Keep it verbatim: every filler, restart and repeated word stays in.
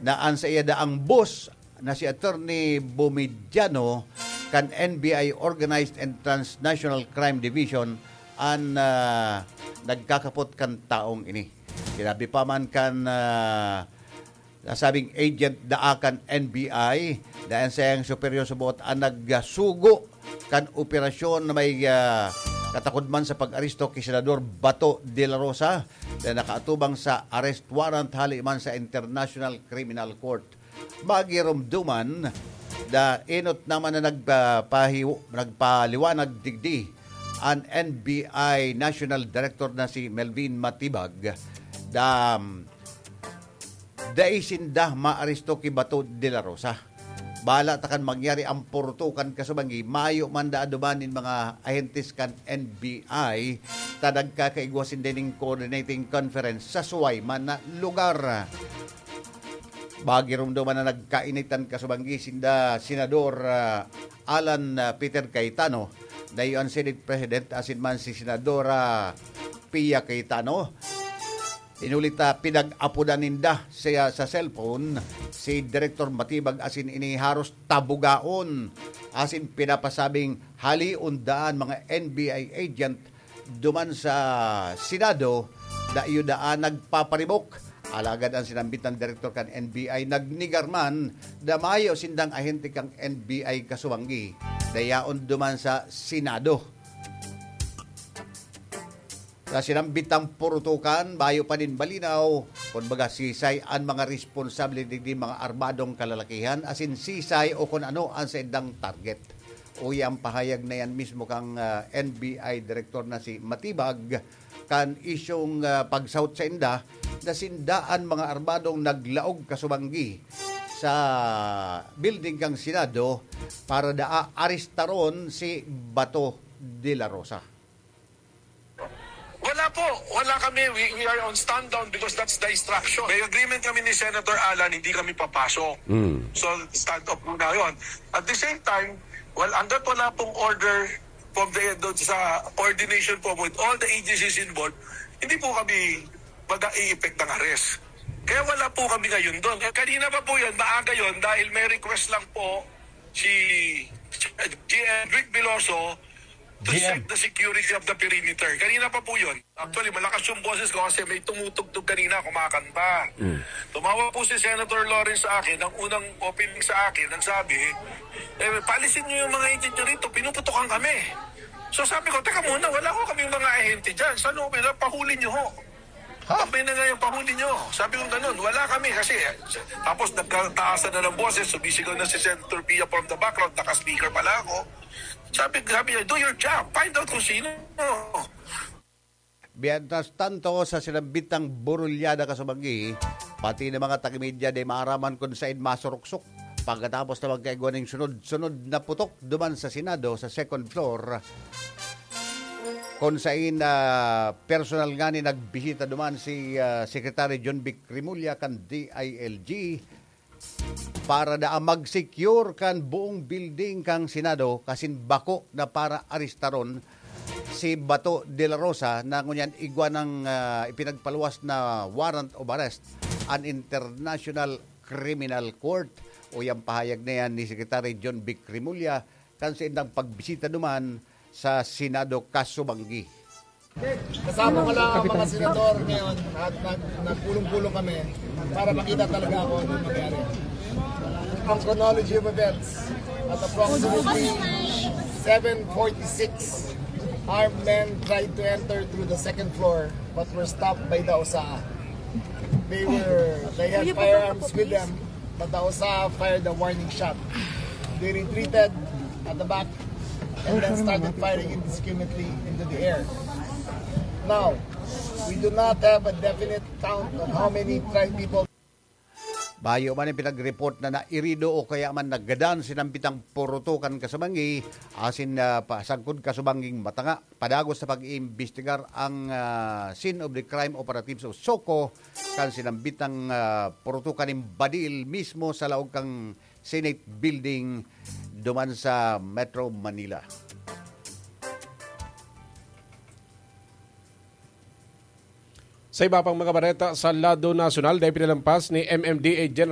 na an saiya daang boss na si Attorney Bumidiano kan N B I Organized and Transnational Crime Division an, ah, nagkakapot kan taong ini. Sinabi pa man kan, ah, nasabing agent daa kan N B I, dahil sa iyang superior sa buot an nagsugo kan operasyon na may, ah, katakod man sa pag-aresto ki Senador Bato de la Rosa na nakaatubang sa arrest warrant hali man sa International Criminal Court. Magirumduman, da enot naman na nagpapahiw-, nagpaliwanag digdi an N B I National Director na si Melvin Matibag. Da, dai sinda maaresto ki Bato de la Rosa. Bala ta kan mangyari ang purutukan kasubanggi, mayo man da aduman nin mga ahentes kan N B I, ta nagkakaigwa sinda ning coordinating conference sa suway man na lugar. Magirumduman na nagkainitan kasubanggi sinda Senador, ah, Alan, ah, Peter Cayetano, na iyo an Senate President, asin man si Senadora Pia Cayetano. Inulit, ah, pinag-apodan ninda siya sa cellphone si Director Matibag asin ini haros tabugaon asin pinapasabing halion daan mga N B I agent duman sa Senado, dai daan nagpaparibok. Alagad ang sinambit na direktor kan N B I nagnegar man na mayo sindang ahente kan N B I kasubanggi, dayaon duman sa Senado. Sa sinambitang purutukan, mayo pa nin malinaw kun baga sisay an mga responsable digdi mga armadong kalalakihan, asin sisay o kun ano an saindang target. Uya ang pahayag na yan mismo kang, ah, N B I Director na si Matibag kan isyong, ah, pagsahot sainda na sinda an mga armadong naglaog kasubanggi sa building kan Senado para daa arestaron si Bato de la Rosa. Wala po. Wala kami. We, we are on stand down because that's the instruction. May agreement kami ni Senator Alan, hindi kami papasok. Mm. So, stand up muna yon. At the same time, well, hanggat wala pong order from the, doon sa coordination po with all the agencies involved, hindi po kami mag-i-effect ng arrest. Kaya wala po kami ngayon doon. Eh, kanina pa po yun, maaga yun, dahil may request lang po si G M Rick Veloso to G M. Check the security of the perimeter. Kanina pa po yun. Actually, malakas yung boses ko kasi may tumutugtog kanina, kumakanta. Tumawag po si Senator Lawrence sa akin, ang unang opening sa akin, ang sabi, eh, paalisin niyo yung mga agent nyo rito, pinuputukan kami. So sabi ko, teka muna, wala ko kaming mga ahente dyan. Sa loob nila, pahuli niyo ho. Pag may nangyayang pahuli niyo, sabi ko ganun, wala kami kasi, tapos nagkataasan na ng boses, sumisigaw na si Senator Pia from the background, naka-speaker pala ako. Sabi, sabi niya, do your job, find out kung sino. Mientras tanto, sa sinambitang burulyada kasubanggi, pati na mga taga-media di maaraman kung sain masuruksok. Pagkatapos na magkaigwa ning sunod-sunod na putok duman sa Senado sa second floor, kung sain, ah, personal nga ni nagbisita duman si, ah, Secretary John Vic Remulla kan D I L G para daa mag-secure kan buong building kan Senado kasin bako na para arestaron si Bato de la Rosa na ngunyan igwa ng, ah, ipinagpaluwas na warrant of arrest an International Criminal Court. Uya ang pahayag na yan ni Secretary John Vic Remulla kan sa indang pagbisita duman sa Senado kasubanggi. Kasama ko lang ang mga senador ngayon at nag, nagpulong-pulong kami para makita talaga kung ano nangyari. Ang chronology of events, at approximately seven forty-six, armed men tried to enter through the second floor but were stopped by the O S A. They were, they had firearms with them, but the O S A fired a warning shot. They retreated at the back and then started firing indiscriminately into the air. Now, we do not have a definite count of how many tried people. Bayo man ang pinag-report na nairido o kaya man nagadan sinambitang purutukan kasubanggi, asin na pasagkod kasubangging matanga. Padagos sa pag-iimbestigar ang, ah, scene of the crime operatives o SOCO kan sinambitang, ah, purutukan nin badil mismo sa laog kang Senate Building duman sa Metro Manila. Sa iba pang mga bareta sa lado nasyonal, dahil pinalampas ni M M D A General